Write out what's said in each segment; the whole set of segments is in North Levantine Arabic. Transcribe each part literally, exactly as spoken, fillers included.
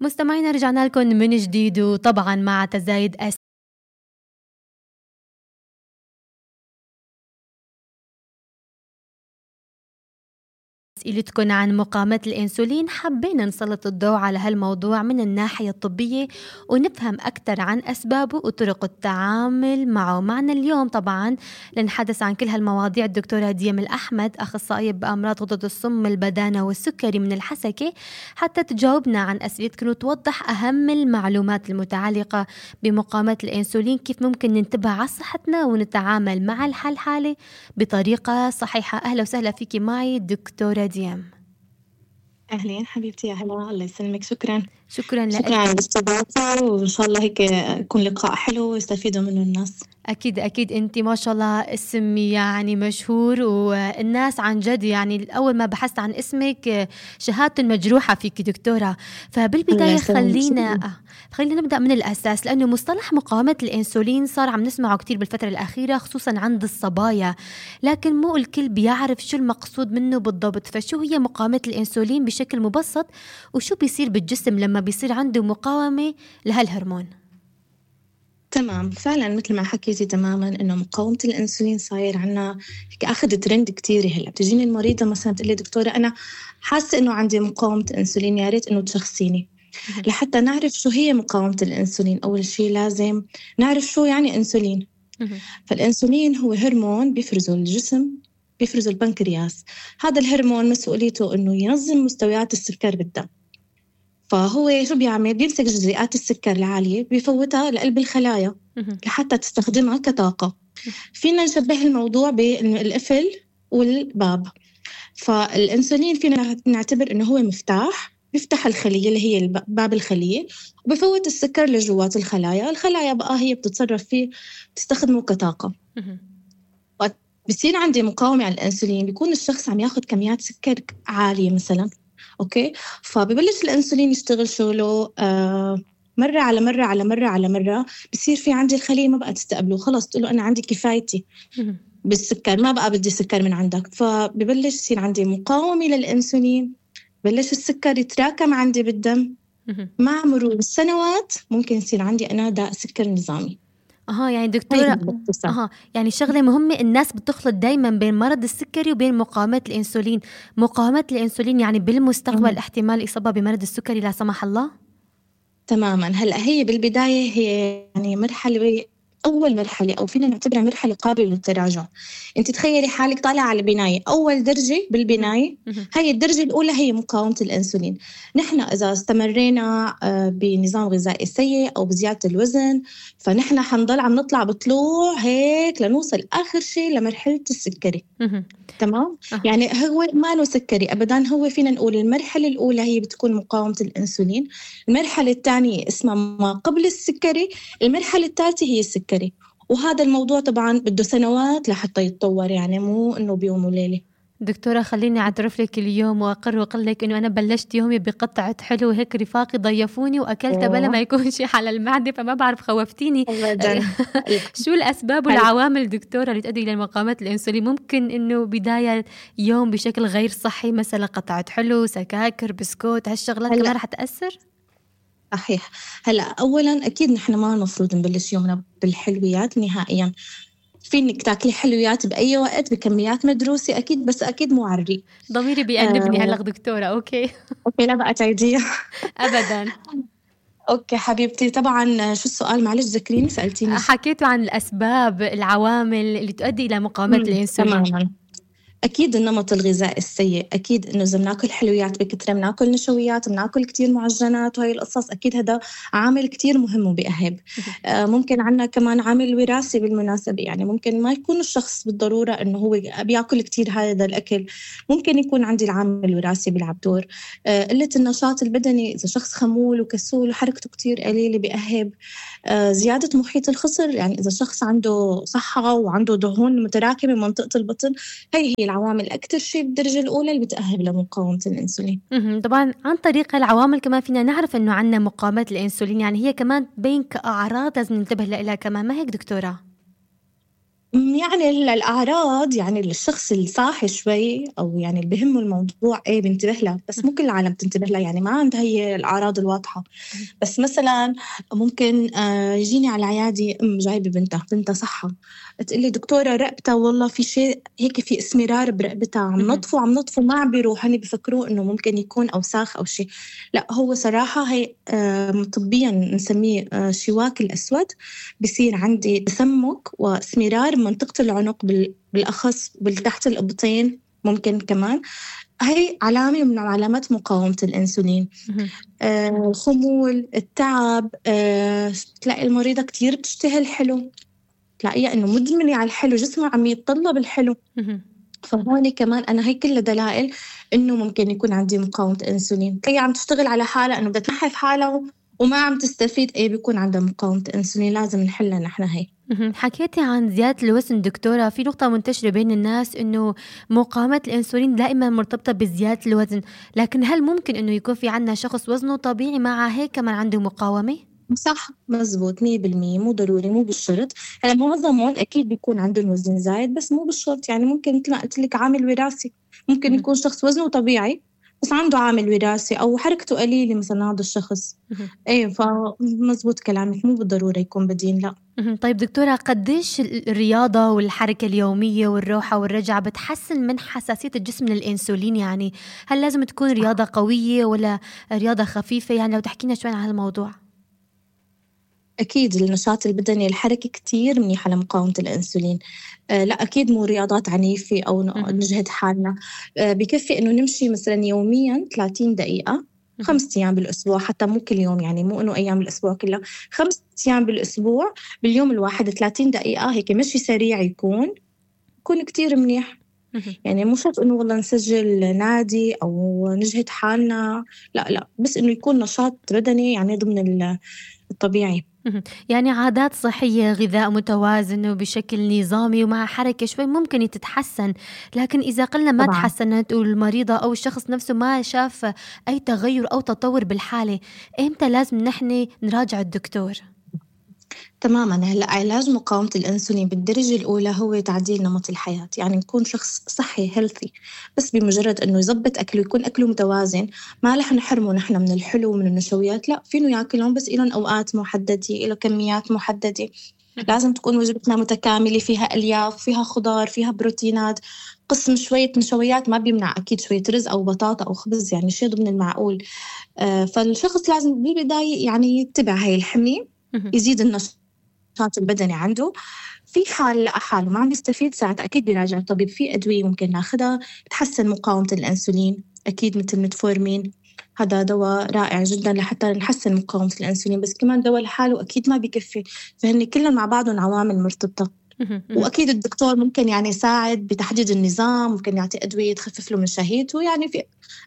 مستمعينا رجعنا لكم من جديد، وطبعا مع تزايد أسئلتكم عن مقاومة الإنسولين. حبينا نسلط الضوء على هالموضوع من الناحية الطبية ونفهم أكثر عن أسبابه وطرق التعامل معه. معنا اليوم طبعا لنحدث عن كل هالمواضيع الدكتورة ديم الأحمد، أخصائية بأمراض غدد الصم البدانة والسكري من الحسكة، حتى تجاوبنا عن أسئلتكم وتوضح أهم المعلومات المتعلقة بمقاومة الإنسولين، كيف ممكن ننتبه على صحتنا ونتعامل مع الحالة بطريقة صحيحة. أهلا وسهلا فيكي معي دكتورة ديم. أهلين حبيبتي، يا هلا، الله يسلمك. شكرا شكرا لك. شكرا على الاستضافة، وإن شاء الله هيك يكون لقاء حلو ويستفيدوا منه الناس. أكيد أكيد، أنت ما شاء الله اسم يعني مشهور، والناس عن جد يعني أول ما بحثت عن اسمك شهادة مجروحة فيك دكتورة. فبالبداية خلينا خلينا نبدأ من الأساس، لأنه مصطلح مقاومة الإنسولين صار عم نسمعه كتير بالفترة الأخيرة خصوصا عند الصبايا، لكن مو الكل بيعرف شو المقصود منه بالضبط. فشو هي مقاومة الإنسولين بشكل مبسط، وشو بيصير بالجسم لما بيصير عنده مقاومة لهالهرمون؟ تمام، فعلا مثل ما حكيتي تماما إنه مقاومة الأنسولين صاير عنا هيك أخذ ترند كتير. هلا بتجيني المريضة مثلا تقول لي دكتورة أنا حاسة إنه عندي مقاومة أنسولين، يا ريت إنه تشخصيني. لحتى نعرف شو هي مقاومة الأنسولين، أول شيء لازم نعرف شو يعني أنسولين. فالأنسولين هو هرمون بيفرزه الجسم، بيفرزه البنكرياس. هذا الهرمون مسؤوليته إنه ينظم مستويات السكر بالدم. فهو شو بيعمل؟ بيمسك جزيئات السكر العالية بيفوتها لقلب الخلايا لحتى تستخدمها كطاقة. فينا نشبه الموضوع بالقفل والباب. فالأنسولين فينا نعتبر إنه هو مفتاح بيفتح الخلية اللي هي باب الخلية، وبفوت السكر لجوات الخلايا. الخلايا بقى هي بتتصرف فيه، بتستخدمه كطاقة. بصير عندي مقاومة على الأنسولين، بيكون الشخص عم ياخد كميات سكر عالية مثلا، أوكي، فببلش الأنسولين يشتغل شغله آه مرة على مرة على مرة على مرة. بصير في عندي الخلية ما بقى تستقبله، خلاص تقوله أنا عندي كفايتي بالسكر، ما بقى بدي سكر من عندك. فببلش يصير عندي مقاومة للأنسولين، بلش السكر يتراكم عندي بالدم. مع مرور السنوات ممكن يصير عندي أنا داء سكر نظامي. أها يعني دكتورة، أها يعني شغلة مهمة، الناس بتخلط دايما بين مرض السكري وبين مقاومة الإنسولين. مقاومة الإنسولين يعني بالمستقبل أه. احتمال إصابة بمرض السكري لا سمح الله؟ تماما. هلأ هي بالبداية هي يعني مرحلة، أول مرحلة أو فينا نعتبرها مرحلة قابلة للتراجع. أنت تخيلي حالك طالعة على البناية، أول درجة بالبناية هي الدرجة الأولى هي مقاومة الأنسولين. نحن إذا استمرينا بنظام غذائي سيء أو بزيادة الوزن، فنحن حنضل عم نطلع بطلوع هيك لنوصل آخر شيء لمرحلة السكري. تمام؟ يعني هو ما له سكري أبداً. هو فينا نقول المرحلة الأولى هي بتكون مقاومة الأنسولين، المرحلة الثانية اسمها ما قبل السكري، المرحلة الثالثة هي السكري. وهذا الموضوع طبعاً بده سنوات لحتى يتطور، يعني مو إنه بيوم وليلة. دكتورة خليني أعترف لك اليوم وأقر وأقول لك إنه أنا بلشت يومي بقطعة حلو هيك، رفاقي ضيفوني وأكلت بلا ما يكون شيء على المعدة، فما بعرف خوفتيني. شو الأسباب والعوامل دكتورة اللي تؤدي إلى مقاومة الإنسولين؟ ممكن إنه بداية يوم بشكل غير صحي، مثلا قطعة حلو، سكاكر، بسكوت، هالشغلات كمان رح تأثر؟ صحيح. هلأ أولاً أكيد نحن ما المفروض نبلش يومنا بالحلويات نهائياً. فينك تاكلي حلويات بأي وقت بكميات مدروسة أكيد، بس أكيد مو عري. ضميري بيأنبني هلأ دكتورة. أوكي أوكي لا بقى تعيديها أبداً. أوكي حبيبتي، طبعاً شو السؤال معلش ذكريني، سألتيني. حكيتوا عن الأسباب العوامل اللي تؤدي إلى مقاومة الإنسولين. تماماً. أكيد النمط الغذائي السيء، أكيد إنه إذا بناكل حلويات بكثرة، بناكل نشويات، بناكل كتير معجنات وهي القصص، أكيد هذا عامل كتير مهم وبيأهب. آه ممكن عنا كمان عامل وراثي بالمناسبة، يعني ممكن ما يكون الشخص بالضرورة إنه هو بياكل كتير هذا الأكل، ممكن يكون عندي العامل الوراثي بيلعب دور. آه قلة النشاط البدني، إذا شخص خمول وكسول وحركته كتير قليلة بيأهب. آه زيادة محيط الخصر، يعني إذا شخص عنده صحة وعنده دهون متراكمة بمنطقة البطن، هي هي العوامل أكتر شيء بالدرجة الأولى اللي بتأهب لمقاومة الأنسولين. طبعا عن طريق العوامل كمان فينا نعرف إنه عنا مقاومة الأنسولين، يعني هي كمان بين كأعراض لازم ننتبه لها كمان، ما هيك دكتورة؟ يعني ال الأعراض يعني الشخص الصاحي شوي أو يعني اللي بيهمه الموضوع إيه بينتبه لها، بس مو كل العالم بتنتبه لها، يعني ما عندها هي الأعراض الواضحة. اهم، بس مثلًا ممكن آآ يجيني على العيادة أم جايبة بنتها، بنتها صحّة، تقول لي دكتورة رقبتها والله في شيء هيك في إسمرار برقبتها، عم اهم، نطفوا عم نطفوا ما عم بيروح، هن بيفكروه إنه ممكن يكون أوساخ أو شي، لأ هو صراحة هي آمم طبيًا نسميه آآ شواك الأسود، بصير عندي تسمُّك وإسمرار بمنطقة العنق بال بالأخص تحت الإبطين ممكن كمان، هي علامة من علامات مقاومة الأنسولين. اهم. آآ الخمول، التعب، آآ تلاقي المريضة كتير بتشتهي الحلو، تلاقيها إنه مدمنة على الحلو، جسمها عم يتطلب الحلو، اهم. فهون كمان أنا هي كلها دلائل إنه ممكن يكون عندي مقاومة أنسولين، هي عم تشتغل على حالها إنه بدها تنحّف حالها و وما عم تستفيد، إيه بيكون عندها مقاومة أنسولين لازم نحلها نحن هي. اهم. حكيتِ عن زيادة الوزن دكتورة، في نقطة منتشرة بين الناس إنه مقاومة الأنسولين دائمًا مرتبطة بزيادة الوزن، لكن هل ممكن إنه يكون في عندنا شخص وزنه طبيعي مع هيك كمان عنده مقاومة؟ صح مزبوط مية بالمية مو ضروري مو بالشرط، هلأ معظمهم أكيد بيكون عندهم وزن زايد بس مو بالشرط، يعني ممكن متل ما قُلت لِك عامل وراثي، ممكن اهم، يكون شخص وزنه طبيعي بس عنده عامل وراثي أو حركته قليلة مثلًا هذا الشخص، اهم، إيه فمزبوط كلامِك مو بالضرورة يكون بدين لأ. اهم. طيب دكتورة قديش ال الرياضة والحركة اليومية والروحة والرجعة بتحسّن من حساسية الجسم للأنسولين يعني؟ هل لازم تكون صح. رياضة قوية والّا رياضة خفيفة؟ يعني لو تحكي لنا شوي عن هالموضوع. أكيد النشاط البدني الحركي كتير منيحة لمقاومة الأنسولين، آآ لأ أكيد مو رياضات عنيفة أو ن اهم، نجهد حالنا، آآ بكفّي إنه نمشي مثلًا يوميًا ثلاثين دقيقة، اهم، خمسة أيام بالأسبوع حتى مو كل يوم يعني مو إنه أيام الأسبوع كلّها، خمسة أيام بالأسبوع باليوم الواحد ثلاثين دقيقة هيك مشي سريع يكون، يكون كتير منيح، اهم. يعني مو شرط إنه والله نسجل نادي أو نجهد حالنا، لأ، لأ، بس إنه يكون نشاط بدني يعني ضمن ال الطبيعي. اهم. يعني عادات صحية، غذاء متوازن وبشكل نظامي ومع حركة شوي ممكن تتحسّن، لكن إذا قلنا ما طبعًا. تحسّنت والمريضة أو الشخص نفسه ما شاف أي تغيُّر أو تطوُّر بالحالة، إمتى لازم نحن نراجع الدكتور؟ تمامًا، هلأ علاج مقاومة الأنسولين بالدرجة الأولى هو تعديل نمط الحياة، يعني نكون شخص صحي healthy بس بمجرد إنه يضبط أكله يكون أكله متوازن، ما رح نحرمه نحن من الحلو ومن النشويات، لأ فينه ياكلهم بس إلهم أوقات محددة، إله كميات محددة، اهم، لازم تكون وجبتنا متكاملة فيها ألياف، فيها خضار، فيها بروتينات، قسم شوية نشويات ما بيمنع أكيد شوية رز أو بطاطا أو خبز يعني شي ضمن المعقول، آآ فالشخص لازم بالبداية يعني يتبع هاي الحمية، اهم، يزيد النشاط النشاط البدني عنده، في حال لقى حاله ما عم يستفيد ساعتها أكيد بيراجع الطبيب، في أدوية ممكن ناخدها تحسّن مقاومة الأنسولين، أكيد متل ميتفورمين هذا دوا رائع جدًا لحتى نحسّن مقاومة الأنسولين، بس كمان دوا لحاله أكيد ما بيكفّي، فهن كلّن مع بعضُن عوامل مرتبطة. اهم، اهم. وأكيد الدكتور ممكن يعني يساعد بتحديد النظام، ممكن يعطي أدوية تخفف له من شهيته، يعني في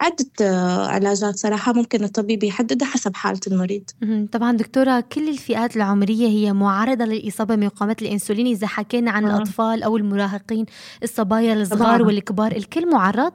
عدة آه، علاجات صراحة ممكن الطبيب يحددها حسب حالة المريض. اهم، طبعًا دكتورة كل الفئات العمرية هي معرضة للإصابة بمقاومة الأنسولين إذا حكينا عن آه. الأطفال أو المراهقين، الصبايا الصغار طبعًا. والكبار، الكل مُعرّض؟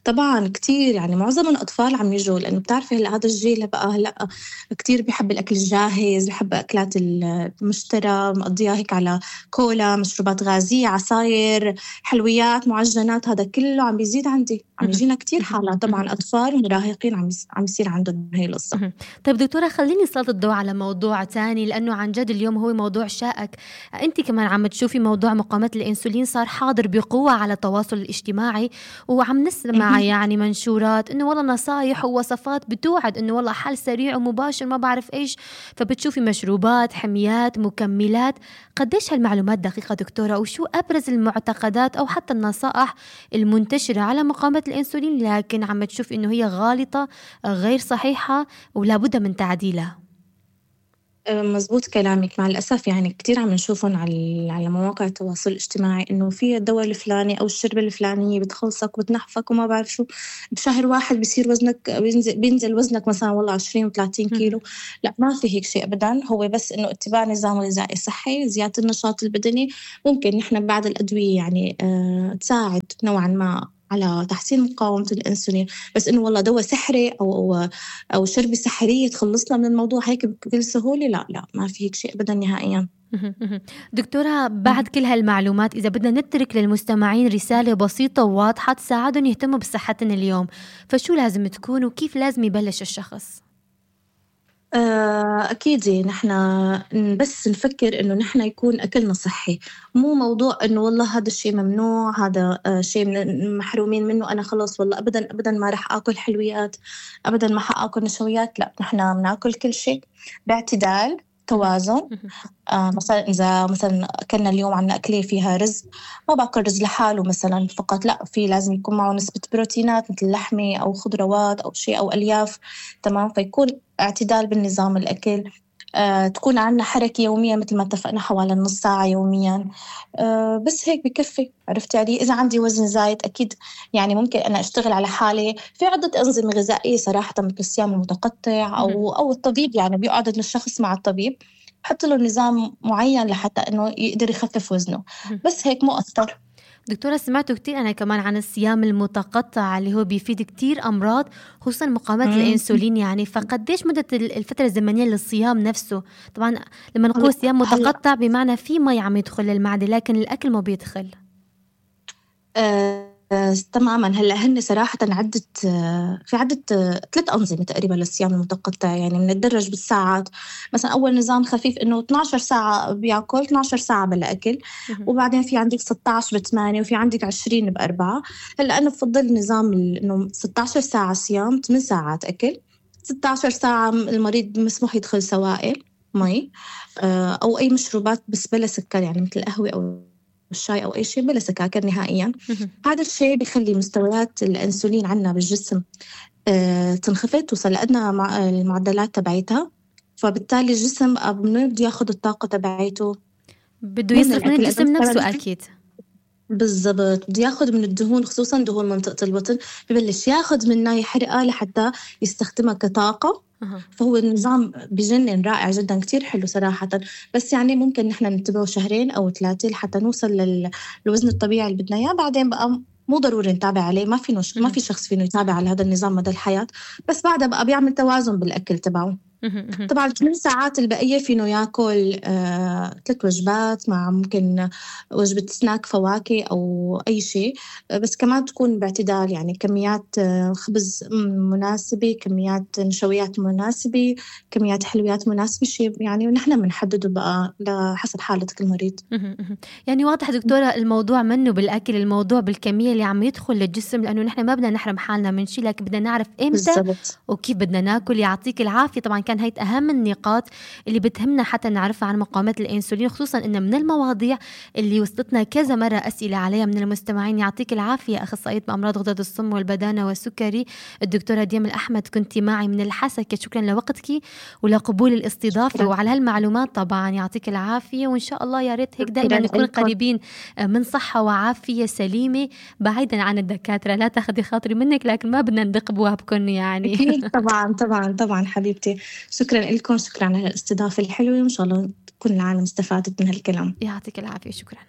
طبعًا كتير، يعني معظم الأطفال عم ييجوا لإنه بتعرفي هلأ هذا الجيل بقى هلأ كتير بيحب الأكل الجاهز، بيحب أكلات ال المُشترى، مقضيها هيك على كولا، مشروبات غازية، عصاير، حلويات، معجنات، هذا كله عم بيزيد عندي، عم اهم، ييجينا كتير حالات طبعًا أطفال ومراهقين عم يص عم يصير عندهم هي القصة. اهم. طيب دكتورة خلّيني أسلط الضوء على موضوع تاني، لإنه عن جد اليوم هو موضوع شائك، أنتِ كمان عم تشوفي موضوع مقاومة الأنسولين صار حاضر بقوة على التواصل الاجتماعي، وعم نسمع اهم. يعني منشورات إنه والله نصايح ووصفات بتوعد إنه والله حل سريع ومباشر ما بعرف إيش، فبتشوفي مشروبات، حميات، مكملات، قديش هالمعلومات دقيقة دكتورة؟ وشو أبرز المعتقدات أو حتى النصائح المنتشرة على مقاومة الأنسولين لكن عم تشوفي إنه هي غالطة، غير صحيحة؟ ولا بد من تعديلها. آآ مضبوط كلامِك، مع الأسف يعني كتير عم نشوفهم على ال على مواقع التواصل الاجتماعي إنه في الدوا الفلاني أو الشربة الفلانية بتخلصك وبتنحفك وما بعرف شو، بشهر واحد بيصير وزنك بينزل بينزل وزنك مثلًا والله عشرين و30 اهم، كيلو، لأ ما في هيك شي أبدًا، هو بس إنه اتباع نظام غذائي صحي، زيادة النشاط البدني، ممكن نحن بعض الأدوية يعني آآ تساعد نوعًا ما على تحسين مقاومة الأنسولين، بس إنه والله دوا سحري أو أو شربة سحرية تخلّصنا من الموضوع هيك بكل سهولة، لأ، لأ، ما في هيك شي أبدًا نهائيًا. مهم. مهم. دكتورة، بعد كل هالمعلومات إذا بدنا نترك للمستمعين رسالة بسيطة وواضحة تساعدهم يهتموا بصحتهم اليوم، فشو لازم تكون وكيف لازم يبلش الشخص؟ آه، أكيد نحن بس نفكر إنه نحن يكون أكلنا صحي، مو موضوع إنه والله هذا الشيء ممنوع، هذا آه، شيء من- محرومين منه، أنا خلص والله أبدا أبدا ما رح آكل حلويات، أبدا ما حآكل نشويات. لا، نحن بناكل كل شيء باعتدال، توازن. مهم. آه مثلا إذا مثلا أكلنا اليوم عنا أكلة فيها رز، ما باكل رز لحاله مثلا فقط، لا، في لازم يكون معه نسبة بروتينات مثل لحمة أو خضروات أو شيء أو ألياف. تمام، فيكون اعتدال بالنظام الأكل. آه تكون عنا حركة يوميا مثل ما اتفقنا حوالي نص ساعة يوميا. آه بس هيك بكفي. عرفت علي؟ إذا عندي وزن زايد أكيد يعني ممكن أنا أشتغل على حالي في عدة أنظمة غذائية صراحة، مثل الصيام المتقطع أو أو الطبيب، يعني بيقعد الشخص مع الطبيب حط له نظام معين لحتى إنه يقدر يخفف وزنه، مهم. بس هيك مو أكتر. دكتورة، سمعتوا كتير أنا كمان عن الصيام المتقطع اللي هو بيفيد كتير أمراض، خصوصا مقاومة مم. الأنسولين. يعني فقديش مدة ال- الفترة الزمنية للصيام نفسه؟ طبعا لما نقول هلا صيام هلا متقطع بمعنى في مي عم يدخل للمعدة لكن الأكل ما بيدخل. آه آه، تماما. هلا هن صراحة عدة آه، في عدة آه، ثلاث أنظمة تقريبا للصيام المتقطع، يعني بنتدرج بالساعات. مثلا أول نظام خفيف إنه اثناشر ساعة بياكل، اثناشر ساعة بلا أكل، مهم. وبعدين في عندك ستة عشر بثمانية، وفي عندك عشرين بأربعة. هلا أنا بفضل نظام ال- إنه ستة عشر ساعة صيام، ثمان ساعات أكل. ستة عشر ساعة المريض مسموح يدخل سوائل، مي آه، أو أي مشروبات بس بلا سكر، يعني مثل القهوة أو الشاي أو أي شيء بلا سكاكر نهائياً. مهم. هذا الشيء بيخلي مستويات الأنسولين عنا بالجسم آه، تنخفض، توصل لأدنى مع المعدلات تبعتها، فبالتالي الجسم من وين بده ياخد الطاقة تبعته؟ بده مو من يصرف من الأكل، لأنه الجسم نفسه مثلاً أكيد. بالضبط بده ياخد من الدهون، خصوصاً دهون منطقة البطن، ببلش ياخد منها يحرقها لحتى يستخدمها كطاقة. أها. فهو النظام بجنن، رائع جدا، كتير حلو صراحة. بس يعني ممكن نحن نتبعه شهرين أو ثلاثة لحتى نوصل لل- للوزن الطبيعي اللي بدنا إياه. بعدين بقى مو ضروري نتابع عليه، ما في نش... ما مهم. في شخص فينه يتابع على هذا النظام مدى الحياة، بس بعدها بقى بيعمل توازن بالأكل تبعه. مهم. مهم. طبعا الثمان ساعات البقية فينه ياكل آه، ثلاث وجبات مع ممكن وجبة سناك فواكه أو أي شيء. آه، بس كمان تكون باعتدال، يعني كميات آه، خبز مناسبة، كميات نشويات مناسبة، كميات حلويات مناسبة، شيء يعني ونحن بنحدده بقى لحسب حالة كل مريض. مهم. مهم. يعني واضح دكتورة الموضوع منه بالأكل، الموضوع بالكمية اللي عم يدخل للجسم، لأنه نحن ما بدنا نحرم حالنا من شيء لكن بدنا نعرف إمتى بالضبط. وكيف بدنا ناكل. يعطيك العافية. طبعا كان هيت أهم النقاط اللي بتهمنا حتى نعرفها عن مقاومة الأنسولين، خصوصا إن من المواضيع اللي وصلتنا كذا مرة أسئلة عليها من المستمعين. يعطيك العافية أخصائية بأمراض غدد الصم والبدانة والسكري الدكتورة ديام الأحمد، كنتي معي من الحسكة. شكرا لوقتك ولقبول الاستضافة شكرا. وعلى هالمعلومات. طبعا يعطيك العافية، وإن شاء الله يا ريت هيك دائما شكرا نكون لكم. قريبين من صحة وعافية سليمة بعيدا عن الدكاترة. لا تاخذي خاطري منك لكن ما بدنا ندق بوابكم يعني. أكيد طبعا طبعا طبعا حبيبتي، شكرا لكم، شكرا على الاستضافة الحلوة، وإن شاء الله تكون العالم استفادت من هالكلام. يعطيك العافية. شكرا.